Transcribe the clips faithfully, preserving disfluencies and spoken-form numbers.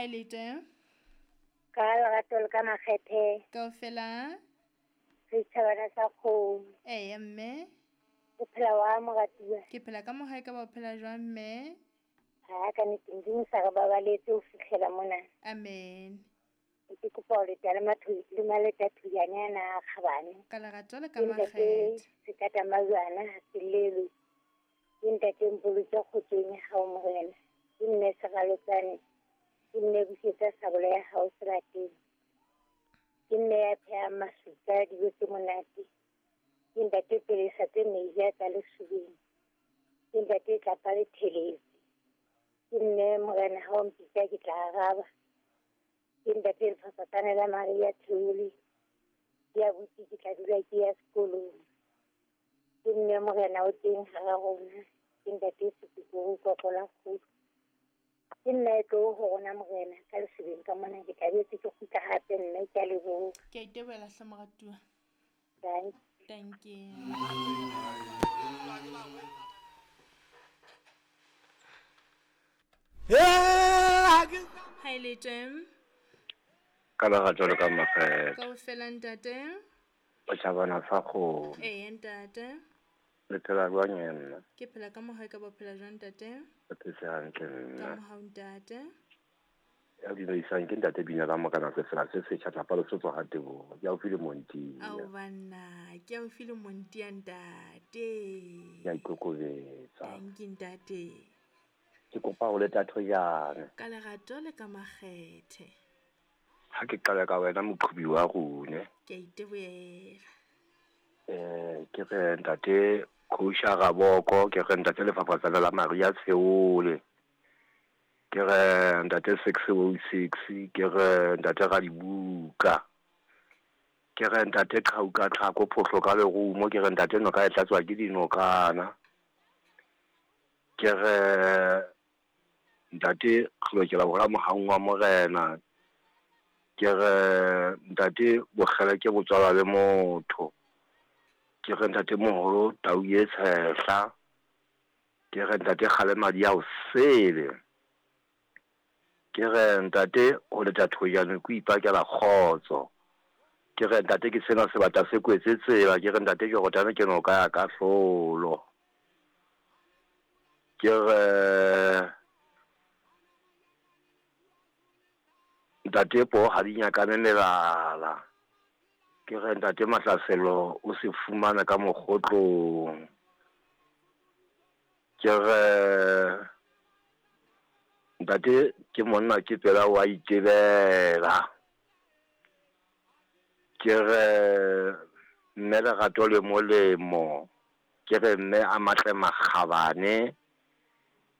Ha e le teng. Ka lerato le ka makgethe. Kaofela. Setjhabana sa kgomo. Eya mme. O phela wa moratuwa. Ke phela ka mohae ka ba o phela jwang mme? Ha ka nnete Modimo sa re babaletse ho fihlela mona. Amen. Ke kopa ho leta le mathu le maleta thuyane ana a kgabane. Ka lerato le ka makgethe. Sekata majwana ha se lelwe. Ke ntate mpoloke kgotsong ya hao Morena. Ke nne seralotsane. Ke nne busetsa sabola ya hao selateng. Ke nne ya phehang masuka dijo tse monate. Ke ntate pelesa tse meja tsa lesubeng. Ke ntate tlapa le theletse. Ke nne Morena ha o mpitsa ke tla araba. Ke ntate lefafatsane la Maria Theole. Ke a butse ke tla dula ke ya sekolong. Ke nne Morena o teng hara rona. Ke ntate Sepikuru Kokola Kgudu. Ke nna e tlo ho rona Morena ka lesubeng ka mona ke tla boetse ke kgutla hape mme ke a leboha. Ke a itebohela hle moratuwa. Thank Thank you. Ha e le teng. Ka lerato le ka makgethe. Kaofela ntate. Setjhabana sa kgomo. Eya ntate. Le phela jwang nna? Ke phela ka mohae ka ba phela jwang ntate? Ke phetse hantle nna. Ka mohau ntate. Ya dumedisang ke ntate Bina la Morena sefela se setjha tlapa le sotso ha Teboho. Ke haufi le Montia. Ao banna, ke haufi le Montia ntate. Ke a ikokobetsa. Thank you ntate. Ke kopa ho leta thojana. Ka lerato le ka makgethe. Ha ke qala ka wena moqhubi wa rone. Ke a itebohela. Eh ke re ntate Kosha Raboko, ke re ntate lefafatsane la Maria Tsheole. Ke re ntate six oh six, ke re ntate Radibuka. Ke re ntate Qhauka Tlhako Phohlo ka lerumo, ke re ntate noka e tlatswa ke dinokana. Ke re ntate re lokela ho ra mohaung wa Morena. Ke re ntate bokgele ke botswala le motho. Ke re ntate moholo tau e tshehla. Ke re ntate kgale madi a o sele. Ke re ntate ho leta thojane ke ipakela kgotso. Ke re ntate ke sena sebata se kwetse tsela. Ke re ntate Jordan ke noka ya kahlolo. Ke re ntate po ha di nyakane melala. Ke re ntate Mahlaselo o se fumana ka mokgotlong. Ke re ntate ke monna ke pela wa itebela. Ke re mme lerato le molemo. Ke re mme a matle makgabane.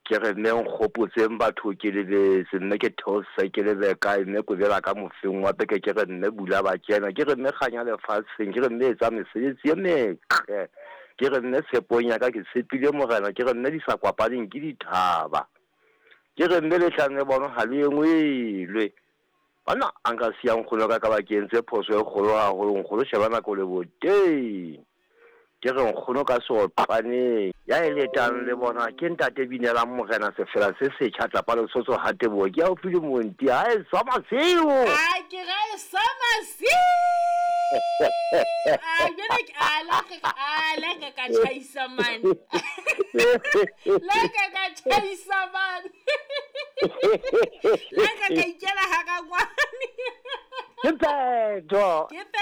Ke re mme nkgopotseng batho ke lebetse, mme ke theose ke lebe kae, mme kobela ka mofeng wa peke. Ke re mme bula ba kena. Ke re mme kganya lefatsheng. Ke re mme etsa mesebetsi e metle. Ke re mme tshepong ya ka ke tshepile Morena. Ke re mme di sa kwapaneng ke dithaba. Ke re mme lehlane le bona ha le engwelwe. Bana a nka siya nkgono ka ka ba ke entse phoso e kgolo haholo. Nkgono sheba nako le boteng. Ke re nkgono ka seotlwaneng. Ya e letang le bona ke ntate Binelang Morena sefela se setjha tlapa le sotso ha Teboho. Ke haufi le Montia. Ha e swa masiu. A ke ra e swa masiu. A jwale ke a la ka a la ka ka tjhaisa man. La ka ka tjhaisa man. La ka ka ikela ha ka ngwane. Ke phetho. Ke phetho.